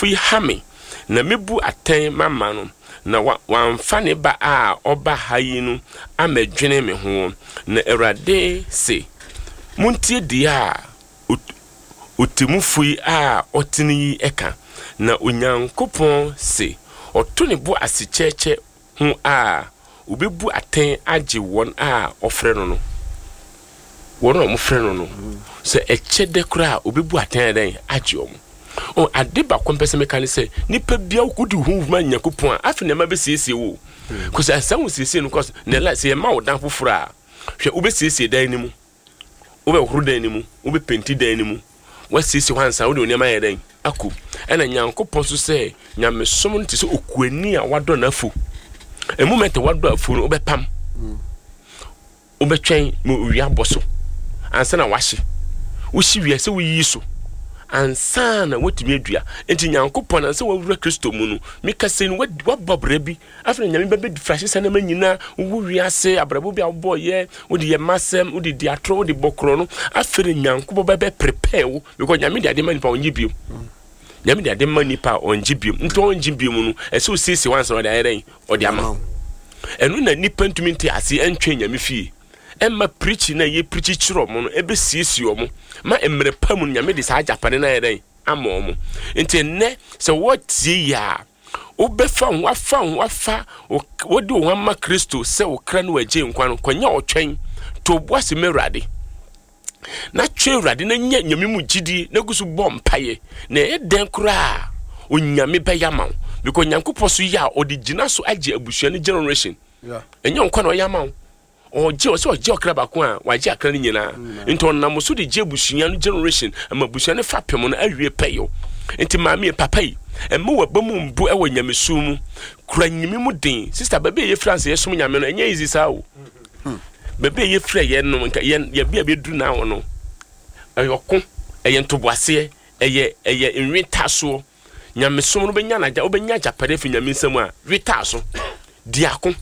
Yi ha me, na mebu atɛn mama no, na wamfa ne ba a ɔba ha yi no ammɛdwene me ho. Na Awurade se, Montie deɛ a ɔtemmufo yi a ɔtene yi ka. Na Onyankopɔn se, ɔto ne bo ase kyɛkyɛ ho a, obebu atɛn agye wɔn a ɔfrɛ no no. Wɔn a wɔfrɛ no no, sɛ ɛkyɛ dɛ koraa a, obebu atɛn dɛn agye wɔn. O, ade baako mpɛ sɛ meka ne sɛ, nipa bia wodi wo ho ma Nyankopɔn a, afei nneɛma bɛsiesie wo. Kɔsɛ asɛ wo siesie no kɔs, na ɛla sɛ yɛma wo dan foforɔ a, hwɛ, wobɛsiesie dan no mu, wobɛhoro dan no mu, wobɛpenti dan no mu, woasiesie hɔ ansa wode wo nneɛma ayɛ dɛn akɔ. Ɛna Nyankopɔn so sɛ nyamesom no te sɛ okuani a wadɔ n'afu. Emu mɛtɛ wadɔ afu no, wobɛpam, wobɛtwɛn ma owia abɔ so ansa na wahye. Wohye wie sɛ woyiyi so ansa na woatumi adua. Nti Nyankopɔn ansa wawura Kristo mu no, meka sɛ no wabɔ bra bi. Afei na Nyame bɛbɛ frahye sa nneɛma nyinaa. Wowu wiase abrabɔ bi a wobɔɔyɛ, wode yɛ masɛm, wode di atorɔ, wode bɔ korɔ no. Afei na Nyankopɔn bɛbɛ prepare wo because Nyame de ade ma nipa, ɔngye bio. Nyame de ade ma nipa a, ɔngye bio. Nti ɔngye bio mu no, ɛsɛ osiesie wansa na ɔde ayɛ dɛn? Ɔde ama. Ɛno na nipa ntumi nte ase ɛntwɛn Nyame fie. Ɛmma preaching na yɛ preach kyerɛ ɔmo no ɛbɛsiesie ɔmo ma mmerɛ pa mu no Nyame de saa agyapade no ayɛ dɛn ama ɔmo. Nti ɛnnɛ sɛ wɔtie yi a, wobɛfa ho afa ho afa wode wo ho ama Kristo sɛ wo kra no wagye nkwa no, kɔnyɛ ɔtwɛn to bo ase ma Awurade na twɛn Awurade na nya Nyame mu gyidie na gu so bɔ mpaeɛ, na ɛyɛ dɛn koraa Onyame bɛyɛ ama wo, because Nyankopɔn so yɛ a ɔde gyina so agye abusua no generation. Ɛnyɛ nkwa na ɔyɛ ama wo, ɔgye ɔsɛ ɔgye ɔkra baako a wagye akra no nyinaa. Nti ɔnam so de gye abusua no generation ama abusua no fapem no awie pɛyɛ. Nti maame, papa yi, ɛma waba mu mbu ɛwɔ nyamesu mu, kura nyame mu den. Sister, baabi a yɛfiri ansa yɛsom Nyame no, ɛnyɛ easy saa o. Baabi a yɛfiri a yɛn no nka yɛn yɛbi a bɛduru na no, ɛyɛ ɔko, ɛyɛ ntoboaseɛ, ɛyɛ nwetasoɔ. Nyamesom no wobɛnya n'agya, wobɛnya agyapade afi Nyame nsam a wetaa so. Diako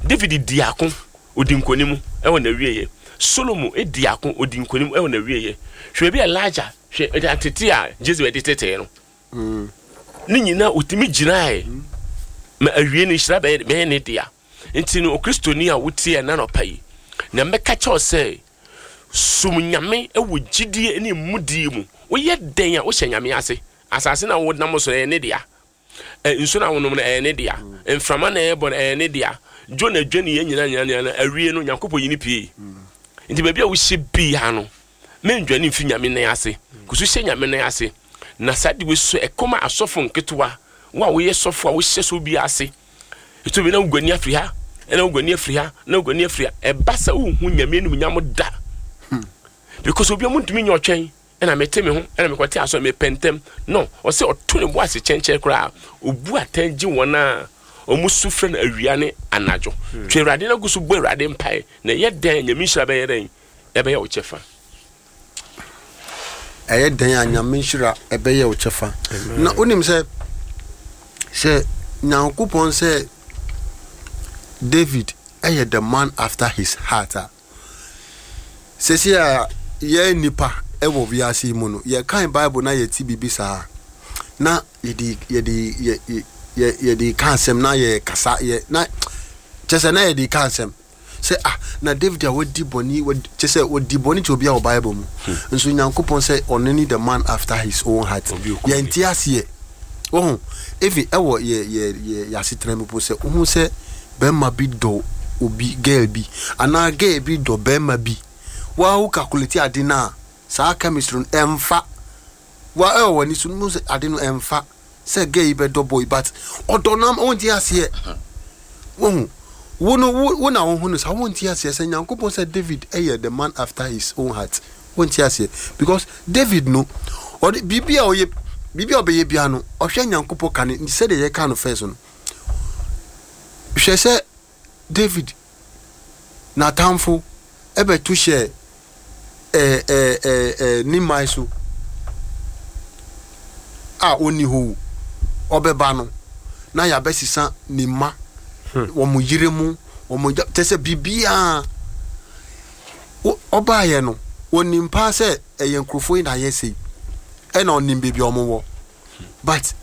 David di ako, odi nkonim ɛwɔ n'awieɛ. Solomon di ako, odi nkonim ɛwɔ n'awieɛ. Hwɛ baabi a Elijah, hwɛ ɛde atete a Jezebel de tetee no ne nyinaa, otumi gyinae ma awie no, nhyira bɛyɛ ne dea. Nti no, Okristoni a wotie ɛna nɔpa yi, na mɛka kyɛw sɛ som Nyame wɔ gyidie ne mudie mu. Woyɛ dɛn a wohyɛ Nyame ase. Asase na wonam so no, ɛyɛ ne dea. Nsu na wonom no, ɛyɛ ne dea. Mframa na ɛbɔ no, ɛyɛ ne dea. Dwo na dwa ne yɛ nyinaa nyinaa nyinaa no, awie no Nyankopɔn yi ne pie. Nti baabi a wohyɛ biara no, mendwane mfi Nyame nan ase. Kusu hyɛ Nyame nan ase. Na saa de wei so ɛkɔma asɔfo nketewa, wo a woyɛ sɔfo a wohyɛ so bi ase. Ɛtɔ bi na woguani afiri ha, ɛna woguani afiri ha, na woguani afiri ha. Ɛba sɛ wohu Nyame animuonyam da. Because obi a muntumi nyɛ ɔtwɛn, ɛna mete me ho, ɛna mekɔte aso, mepɛ ntɛm no. Ɔsɛ ɔto ne bo ase kyɛnkyɛn koraa, obu atɛn gye wɔn a ɔmo su frɛ no awia ne anadwo. Twɛ Awurade na gu so bɔ Awurade mpae, na ɛyɛ dɛn Nyame nhyira bɛyɛ dɛn ɛbɛyɛ wo kyɛfa. Ɛyɛ dɛn a Nyame nhyira ɛbɛyɛ wo kyɛfa. Na wonim sɛ Nyankopɔn sɛ David ɛyɛ the man after his heart a, sɛsi a yɛn nipa ɛwɔ wiase yi mu no, yɛkan Bible na yɛti biribi saa na yɛde yɛde yɛ yɛ yɛde ka asɛm na yɛ kasa yɛ na kyɛ sɛ na yɛde ka asɛm sɛ, ah, na David a wadi bɔne, kyɛ sɛ wadi bɔne kyɛ obi a wɔ Bible mu nso Nyankopɔn sɛ ɔno ne the man after his own heart. Yɛnte aseɛ. Wɔho efi ɛwɔ yɛ asetena mu po sɛ wohu sɛ bɛrima bi dɔ obi girl bi anaa girl bi dɔ bɛrima bi, waa wo calculate ade no a, saa chemistry no ɛmfa wa ɛwɔ w'ani so no sɛ ade no ɛmfa sɛ girl yi bɛdɔ boy, but ɔdɔ no ama wonte aseɛ. Wohu wo no wo na wohu no saa, wonte aseɛ sɛ Nyankopɔn sɛ David ɛyɛ the man after his own heart. Wonte aseɛ because David no, ɔde biribi a ɔyɛ, biribi a ɔbɛyɛ bia no, ɔhwɛ Nyankopɔn kane sɛdeɛ yɛka no first no. Hwɛ sɛ David n'atamfo ɛbɛto hyɛ ɛɛ ɛɛ ɛɛ ɛɛ ne man so a ɔnni hɔ o, ɔbɛba no na yɛabɛsesa ne mma, wɔn yere mu, wɔn gya kyɛ sɛ biribiara. Ɔbaayɛ no, wɔnim paa sɛ ɛyɛ nkurɔfoɔ yi na ayɛ sei, ɛna ɔnim baabi a wɔn wɔ, but